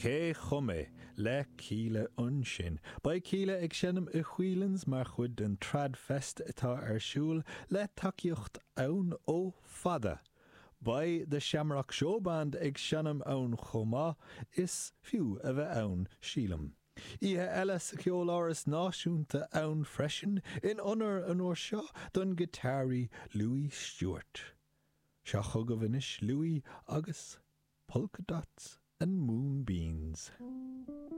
Cé Chum É? le Kíla ansin. Beidh Kíla ag seinm i Whelan's mar chuid den Trad Fest atá ar siúl le tacaíocht ann ó Fada. Beidh The Shamrock Showband ag seinm ann chomh maith, is fiú a bheith ann, sílim. Oíche eile sa Cheoláras Náisiúnta ann freisin, in onóir an uair seo don giotáraí Louis Stewart. Seo chugaibh anois Louis agus Polka Dots and Moonbeams.